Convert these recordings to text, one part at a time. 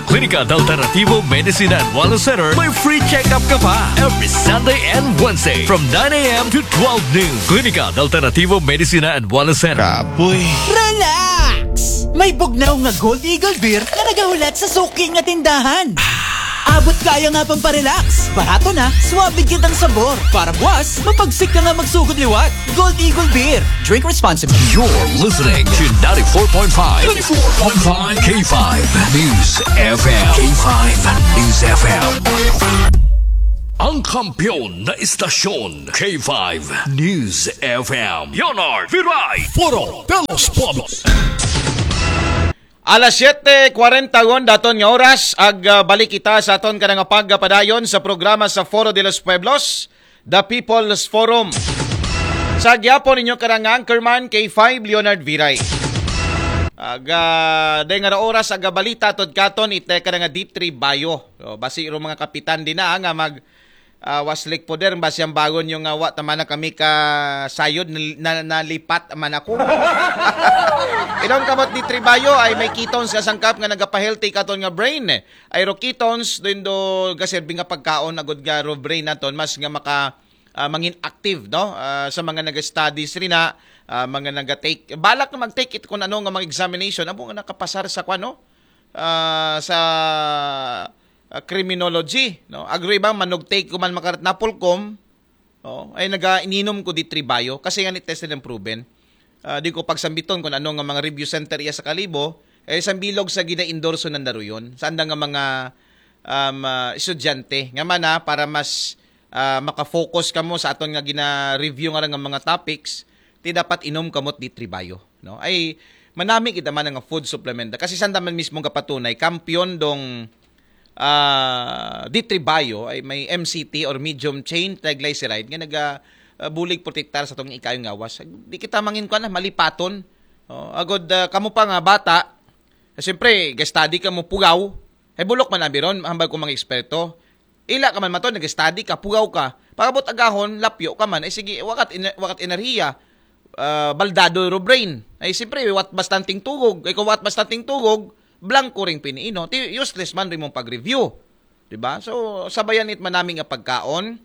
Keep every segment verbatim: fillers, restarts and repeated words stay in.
Klinika de Alternativo Medicina and Wellness Center, may free check-up ka pa every Sunday and Wednesday from nine a.m. to twelve noon. Klinika de Alternativo Medicina and Wellness Center. Kapoy. Relax! May bugnaw nga Gold Eagle Beer na nagahulat sa suki nga tindahan. Abot kaya nga pang parelax. Barato na, suabe kitang sabor. Para buwas, mapagsik ka nga magsugod liwat. Gold Eagle Beer. Drink responsibly. You're listening to ninety-four point five, ninety-four point five K five News F M. K five News F M. Ang kampiyon na istasyon, K five News F M. Leonard Viray. Foro de los Pueblos. Alas siyete kwarenta gon daton nga oras, ag ah, balik kita sa aton kanang pagpadayon sa programa sa Foro de los Pueblos, The People's Forum. Sa gyapon ninyo kanang anchorman K five Leonard Viray. Aga, day nga oras, aga balita tod katon ite kanang D three Bayo. So, basi ro mga kapitan din na nga mag ah, waslik poder ba siyang bagon yung nga wa tama na kami ka sayod na, na, nalipat man ako. Inom kamot ni Tribayo ay may ketones nga sangkap nga nagapahealthy katon nga brain. Ay ro ketones din do gaserbi nga pagkaon agud nga ro brain naton mas nga maka ah, mangin active, no? Ah, sa mga naga-studies rin na ah, mga naga-take, balak na mag-take it kung ano nga mga examination amo nga nakapasar sa kwano ah, sa ah, criminology, no? Agro iba manugtake ko man makarat napulkom, no? Ay naga ininom ko di tribayo kasi nga ni test nila proven. Ah, di ko pagsambiton kung ano nga mga review center iya sa Kalibo, eh sambilog sa gina-endorso ng daruyon. Sa andang nga mga um, ah, estudyante nga mana para mas ah, makafocus kamo sa aton nga gina-review nga nga mga topics, ti dapat inom kamot di tribayo, no? Ay manami kita man nga food supplement kasi sanda man mismo kapatunay kampiyon dong ah, di tribayo ay may M C T or medium chain triglyceride nga naga ah, bulig protektar sa tong ikayong ngawas. Di kita mangin ko na malipaton. Oh, agod ah, kamo pa nga bata, siyempre, ga-study ka mo pugaw. Ay bulok man abi ron, hambal ko mga eksperto. Ila ka man mato, nag-study ka, pugaw ka. Pagabot agahon, lapyo ka man. Ay sige, wakat, ina- wakat enerhiya. Ah, baldado ro brain. Ay siyempre, wat bastanting tugog. Ay kung wat bastanting tugog, blanco ring piniino. Ti useless man rin mong pag-review. Diba? So, sabayan it manami nga pagkaon,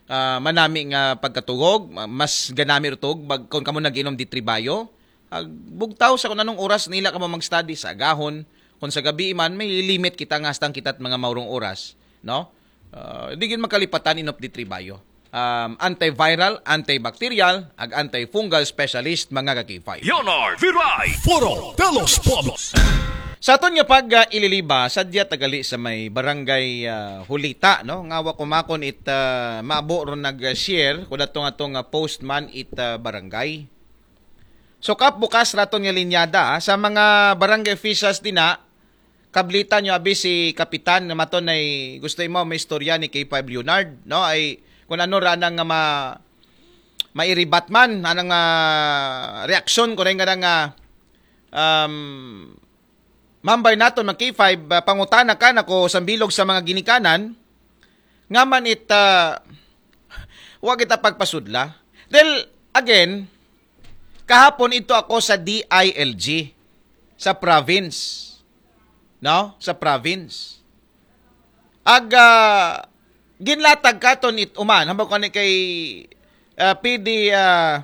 ah, manami nga pagkatugog, ma- mas ganami ro tug, bag, kung kamo nag-inom di tribayo, ag, bugtaw sa kung anong oras nila ka mo mag-study sa agahon, kung sa gabi man, may limit kita nga hastang kita't mga maurong oras, no? Ah, di gyud makalipatan inop di tribayo. Um, antiviral, antibacterial, ag antifungal specialist, mga ka-K five. Leonard Viray. Foro de los Pueblos. Sa aton nga pag ah, ililiba, sadya tagali sa may barangay ah, Hulita, no? Nga wa kumakon it ah, maabo ron nag-share, kung atong atong ah, post man it ah, barangay. So kap bukas raton nga linyada ah, sa mga barangay officials din na kablita nyo abi si Kapitan nga maton ay gusto mo may istorya ni K five Leonard, no? Ay kung ano ra nang nga ma mairibat man anang ah, reaksyon ko rin nga nga um, mambay naton mag K five ah, pangutana ka nako sambilog sa mga ginikanan nga man it ah, wa kita pagpasudla. Dahil again, kahapon ito ako sa D I L G sa province. No? Sa province. Ag ah, ginlatag katon it uman hambal ko ni kay ah, P D ah,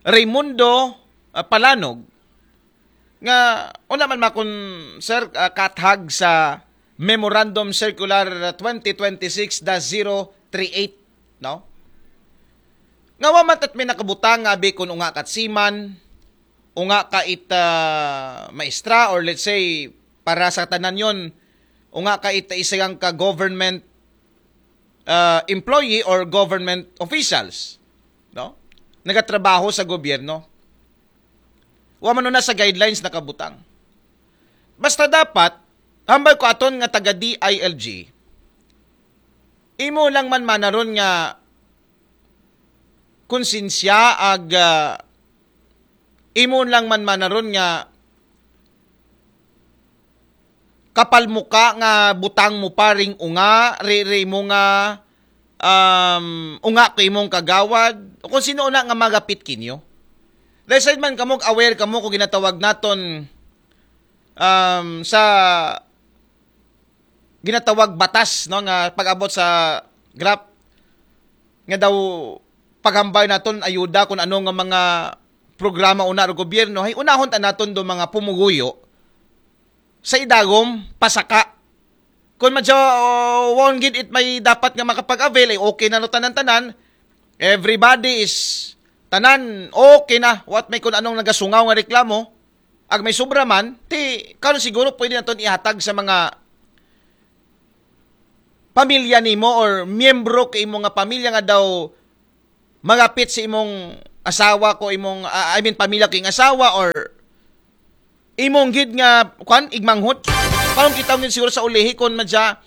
Raymundo ah, Palanog nga una man makon sir ah, kathag sa Memorandum Circular twenty twenty-six dash zero three eight, no? Nga wa man tat may nakabutang nga abi kun unga kat siman, unga ka it ah, maestra, or let's say para sa tanan yon, unga ka it isa ka government ah, employee or government officials, no? Nagatrabaho sa gobyerno. Wa man na sa guidelines nakabutang. Basta dapat hambal ko aton nga taga D I L G, imo lang man manaron nga konsensya ag ah, imo lang man manaron nga kapal mo ka nga butang mo pa ring unga, ri, ri mo nga um, unga ko imong kagawad, o kung sino na nga magapit kinyo. Dahil sa man kamo, aware kamo kung ginatawag naton um, sa ginatawag batas, no, nga pag-abot sa graph, nga daw paghambal naton ayuda kung ano nga mga programa una ro gobyerno, ay unahon ta naton do mga pumuguyo sa idagom pasaka. Kung madya, oh, won't get it may dapat nga makapag-avail, ay okay na no tanan-tanan. Everybody is tanan, okay na. What may kung anong nagasungaw nga reklamo, ag may sobra man, ti, karon siguro pwede naton ihatag sa mga pamilya nimo or miyembro ka imo nga pamilya nga daw magapit sa imong asawa ko imong, ah, I mean, pamilya ko ing asawa or imong gid nga, kwan, igmanghod. Karon kita ngin siguro sa ulihi kung madya,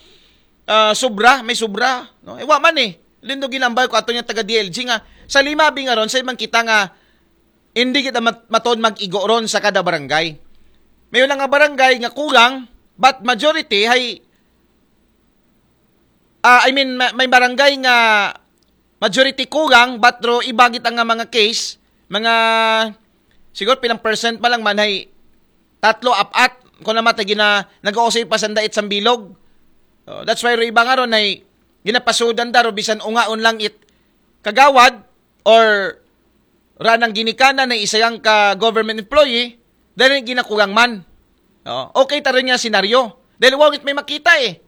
ah, sobra, may sobra, no? Eh, wa man eh. Lindo ginambal ko ato nga taga D L G nga sa lima bi nga ron, sa imang kita nga hindi kita mat- matod mag-igo ron sa kada barangay. May lang nga barangay nga kulang, but majority hay, ah, I mean, ma- may barangay nga majority kulang, but ro iba gid ang nga mga case, mga siguro pilang percent pa lang man hay tatlo, apat, kung naman tayo gina, nag-uusay pa sanda it sambilog. Oh, that's why ro iba nga ron ay ginapasudan da ro bisan ungaon lang it kagawad or ranang ginikanan na isayang ka government employee dahil ginakulang man. Oh, okay ta rin nga senaryo. Dahil wangit may makita eh.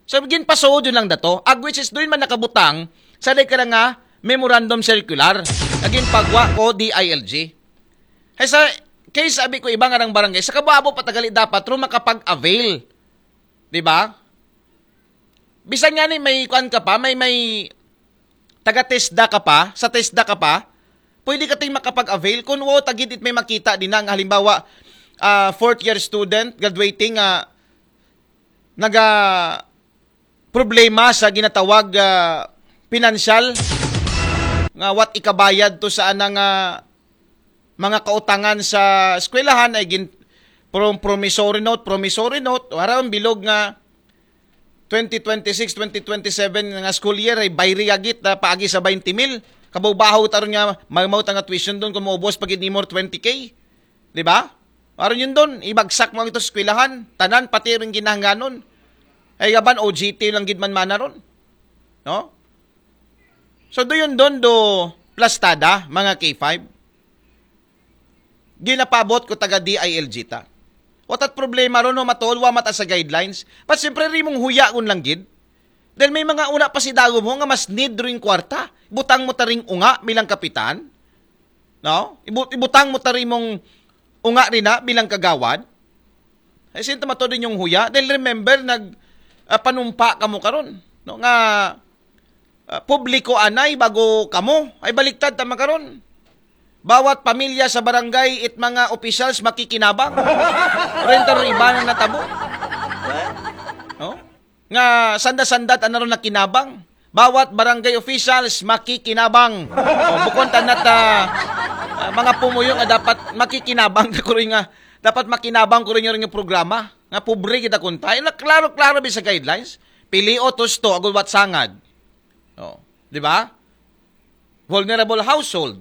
So, ginpasuod yun lang dato. Ag which is doon man nakabutang sa di ka nga memorandum circular. Naging pagwa ko D I L G. Ay sa case sabi ko iba nga ng barangay, sa kababo patagali dapat ro makapag-avail. Di ba? Bisan nga ni may kuan ka pa, may may taga TESDA ka pa, sa TESDA ka pa, pwede ka ting makapag-avail kung wow tagid it may makita din ang halimbawa ah, fourth year student graduating nga naga problema sa ginatawag ah, pinansyal nga what ikabayad to sa anang ah, mga kautangan sa eskwelahan ay gin prom- promissory note, promissory note, wala ang bilog nga twenty twenty-six, twenty twenty-seven nga school year ay bayri agit na paagi sa twenty mil. Kabaw-bahaw taron nga magmawta nga tuition doon kung maubos pag nimo twenty K. Di ba? Aron yun doon, ibagsak mo ang ito sa eskwelahan. Tanan, pati rin ginahangganon. Ay gaban, O G T lang gid man mana ron. No? So, do yun doon, do plastada, mga K five. Ginapabot ko taga D I L G ta. Watat problema ron, no, matuod, wa mata sa guidelines. But siyempre, rimong huya kun lang gid. Dahil may mga una pa si dago mo nga mas need ring kwarta. Butang mo taring unga bilang kapitan. No? Ibu- ibutang mo taring mong unga rin na bilang kagawad. Ay, sinta matuod din yung huya. Dahil remember, nag, ah, panumpa ka mo karon. No? Nga, ah, publiko anay bago kamo. Ay, baliktad tama karon. Bawat pamilya sa barangay it mga officials makikinabang. Renta ro iba na natabo. No? Nga sanda-sanda ta na ron nakinabang. Bawat barangay officials makikinabang. O, bukon tanat ah, ah, mga pumuyo nga dapat makikinabang na ko rin nga dapat makinabang ko rin yung programa nga pobre kita kunta. Yung klaro-klaro bi sa guidelines, pili o tusto, agud wat sangad. Oh, di ba? Vulnerable household.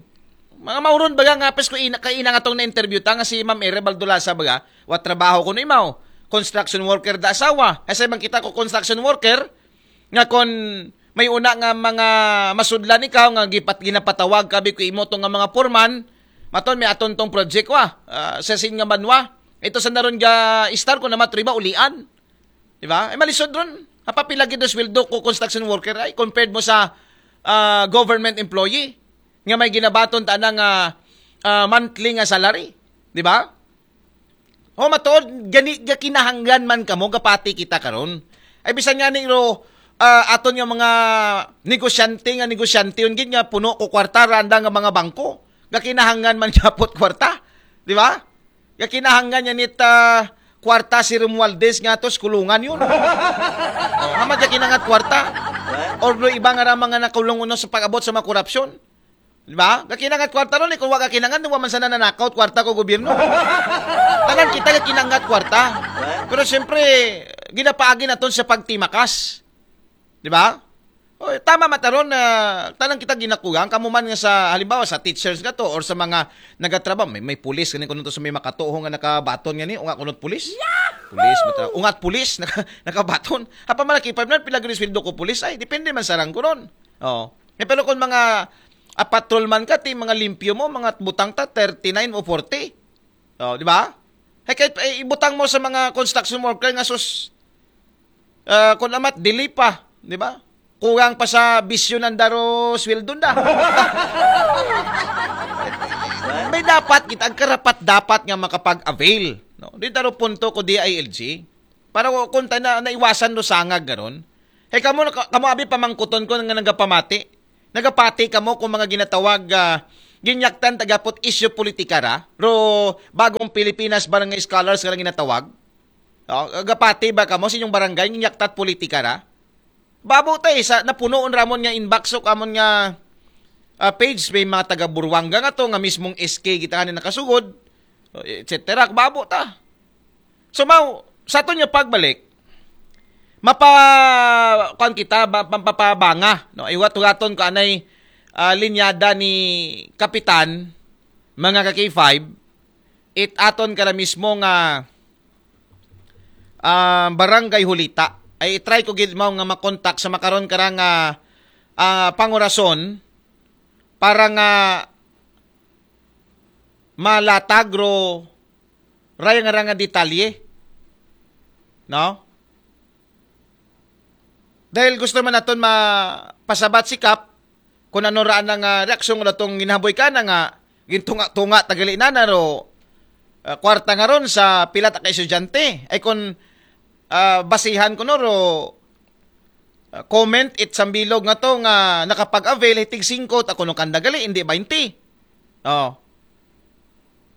Mga mauron baga nga pes ko ina, kainang atong na-interview ta nga si Ma'am Ere Baldulasa baga, wa trabaho ko no imaw. Construction worker da asawa. Kasi man kita ko construction worker, nga kon may una nga mga masudlan ikaw nga gipat ginapatawag kabi ko imo to nga mga foreman, maton may aton tong project wa, ah, sa sin nga banwa. Ito sa naron ga istar ko na matriba ulian. Di ba? Ay malisod ron. Hapapila gid sweldo ko construction worker ay compared mo sa ah, government employee nga may ginabaton ta na nga ah, monthly nga salary. Di ba? O matuod, gani, gakinahanglan man kamo, gapati kita karon. Ay bisan nga ni ro, ah, aton nga mga negosyante nga negosyante yun gid nga puno ko kwarta randa nga mga bangko. Gakinahanglan man gyapot kwarta, di ba? Gakinahanglan niya nit ah, kwarta si Romualdez nga to sa kulungan yun. Oh, hama gakinangat kwarta. Or no iba nga ra mga nakulong uno sa pag-abot sa mga korupsyon. Di ba? Gakinangat kwarta ron, eh, kung wa gakinangat, wa man sana nanakaw kwarta ko gobyerno. Tanan kita gakinangat kwarta. Pero siyempre, ginapaagi naton sa pagtimakas. Di ba? Oh, tama mataron na tanang kita ginakugang kamo man nga sa halimbawa sa teachers nga to or sa mga nagatrabaho may, may pulis gani kuno to sa may makatuho nga nakabaton gani o nga kuno pulis. Pulis mata ungat pulis naka, nakabaton. Apa man ki five na pila gani sweldo ko pulis ay depende man sa ranggo ron. Oh. Eh, pero kung mga a patrol man ka ti mga limpyo mo mga butang ta thirty-nine o forty. Oh, di ba? Hey, kahit eh, ibutang mo sa mga construction worker nga sus uh, kung amat dili pa, di ba? Kulang pa sa bisyo ng daro sweldo na. May dapat kita ang karapat dapat nga makapag-avail. No? Di daro punto ko D I L G. Para ko kung tayo na naiwasan no sangag garon. Hey, kamo, kamo abi pamangkuton ko nga nagapamati. Nagapati kamo kung mga ginatawag uh, ginyaktan tagapot isyu politika ra. Ro bagong Pilipinas barangay scholars nga ginatawag. Oh, gapati ba kamo sa inyong barangay nga yaktat politika ra? Babo ta eh, sa napunoon ramon nga inbox o kamon nga uh, page may mga taga Burwanga nga to nga mismong S K kita nga nakasugod, et cetera. Babo ta. So mao sa aton nga pagbalik mapa kuan kita mapapabanga no iwat-waton ko anay uh, linyada ni kapitan mga ka K five it aton ka na mismo nga ah, Barangay Hulita. Ay i-try ko gid mao nga makontak sa makaron kara nga ah, pangurason para nga malatag ro raya nga ra nga detalye. No? Dahil gusto man naton mapasabat si Kap kung ano ra nga reaksyon nga tong ginahaboy ka na nga gintunga-tunga tagali na na ro ah, kwarta nga ron sa pila ta ka estudyante. Ay kung ah, basihan ko no ro ah, comment it sambilog nga to nga nakapag-avail hitig singko ta kuno kanda gali hindi twenty. Oh.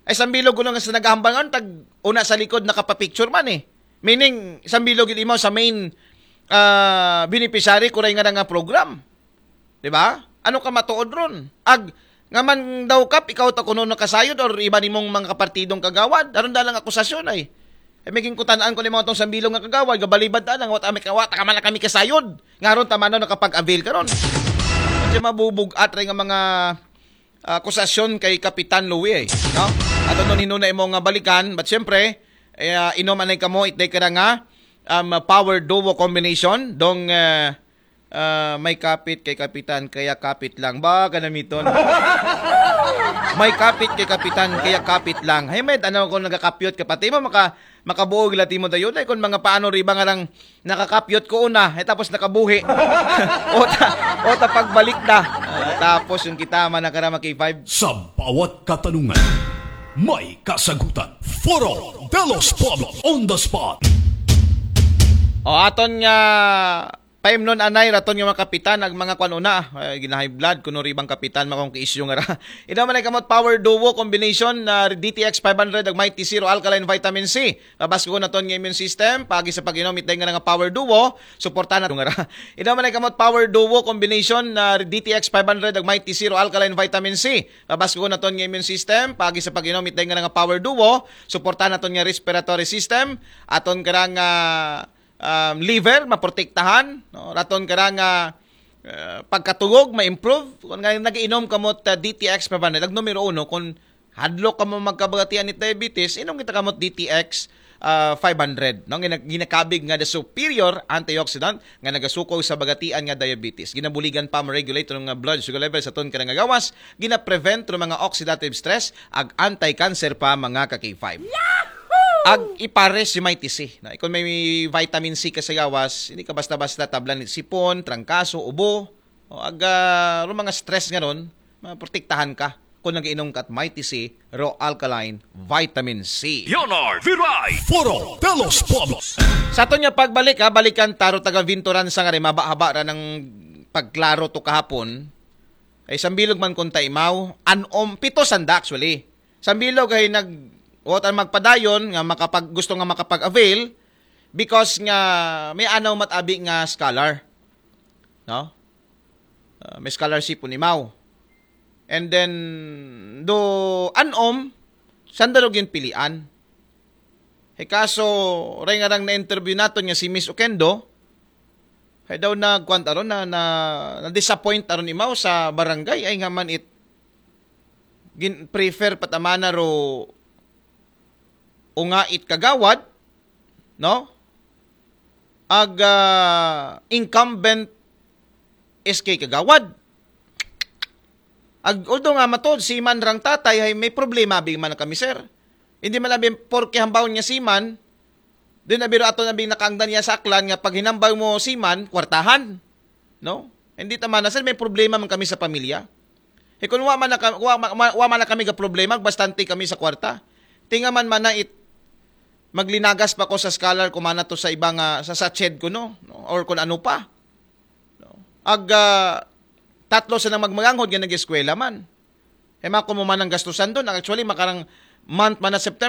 Ay sambilog ko nga sa nagahambal nga tag una sa likod nakapapicture man eh. Meaning sambilog gid imaw sa main ah, beneficiary kuray nga nga program. Di ba? Ano ka matuod ron? Ag nga man daw kap ikaw ta kuno nakasayod or iba nimong mga kapartidong kagawad. Aron da lang akusasyon ay. Ay may ginkutanaan ko ni mga tong sambilog nga kagawad, gabalibad ta lang, wata, wata ka man na kami kasayod. Nga ron tama na nakapag-avail ka ron. Kasi mabubug-at rin nga mga ah, akusasyon kay Kapitan Louie, eh, no? Ato nun hinuna imo nga balikan, but syempre, eh, ah, inom anay kamo, itday ka na nga, um, power duo combination, dong eh, ah, may kapit kay Kapitan, kaya kapit lang. Ba, kanamiton. May kapit kay Kapitan, kaya kapit lang. Hey, may ano ko nagakapyot ka, pati mo maka, makabuog lati mo tayo. Dahil kung mga paano riba nga lang nakakapyot ko una, eh, tapos nakabuhi. o, ta, o ta pagbalik na. Ah, tapos yung kita, man nakarama K five. Sa bawat katanungan, may kasagutan. Foro de los Pueblos on the spot. O aton nga paimnon anay raton nga mga kapitan ag mga kwan una eh, ginahay blood kuno ribang kapitan makong kiisyo nga ra. Ino man ay kamot power duo combination na D T X five hundred ag Mighty Zero Alkaline Vitamin C. Pabas ko naton nga immune system pagi sa pag-inom itay nga nga power duo suporta na nga ra. Ino man ay kamot power duo combination na D T X five hundred ag Mighty Zero Alkaline Vitamin C. Pabas ko naton nga immune system pagi sa pag-inom itay nga nga power duo suporta naton nga respiratory system aton karang uh, um, liver maprotektahan, no? Raton ka nga uh, pagkatulog ma-improve. Kung nga nag-iinom ka mo ta D T X five hundred, ang numero uno, kung hadlok ka mo magkabagatian ni diabetes, inom kita ka mo D T X uh, five hundred, no? Gina- ginakabig nga the superior antioxidant nga nagasuko sa bagatian nga diabetes. Ginabuligan pa mo regulate nga blood sugar level sa ton ka nga gawas, gina-prevent ro mga oxidative stress, ag anti-cancer pa mga ka K five. Ag ipares si Mighty C. Na, ikon may vitamin C ka sa gawas, hindi ka basta-basta tablan ni sipon, trangkaso, ubo. O, ag uh, mga stress nga ron, maprotektahan ka kung nag-inom ka at Mighty C, Raw Alkaline, Vitamin C. Leonard Viray, Foro de los Pueblos. Sa aton nga pagbalik, ha, balikan taro taga Vintoran sa nga rin, mabahaba ra ng pagklaro to kahapon. Ay, sambilog man kung taimaw, anom, pito sanda actually. Sambilog ay nag, what ang magpadayon nga makapag, gusto nga makapag-avail because nga may anaw matabi nga scholar. No? Uh, may scholarship po ni Mao. And then, do anom, sandalo gyud pilian. E kaso, ray nga rang na-interview naton nga si Miss Okendo, Kay daw nagkuan aron na, na, na-disappoint aron imaw sa barangay ay nga man it gin prefer pa ta man na ro unga it kagawad, no? Ag ah, incumbent S K Kagawad. Ag although nga matod si man rang tatay ay may problema abi man kami, sir. Hindi man abi porke hambawon nga si man, din abi ro ato na bing nakaangdan niya sa Aklan nga pag hinambaw mo si man, kwartahan. No? Hindi ta man na, sir, may problema man kami sa pamilya. E kung wa man na, ka- wa, wa, wa man na kami ga problema, bastante kami sa kwarta. Tinga man man na it maglinagas pa ko sa scholar ko man na to sa iba nga sa sached ko, no? No? Or kung ano pa. No? Ag ah, tatlo sa nang magmaganghod nga nag-eskwela man. E mako mo man ang gastusan doon. Actually, makarang month man na September,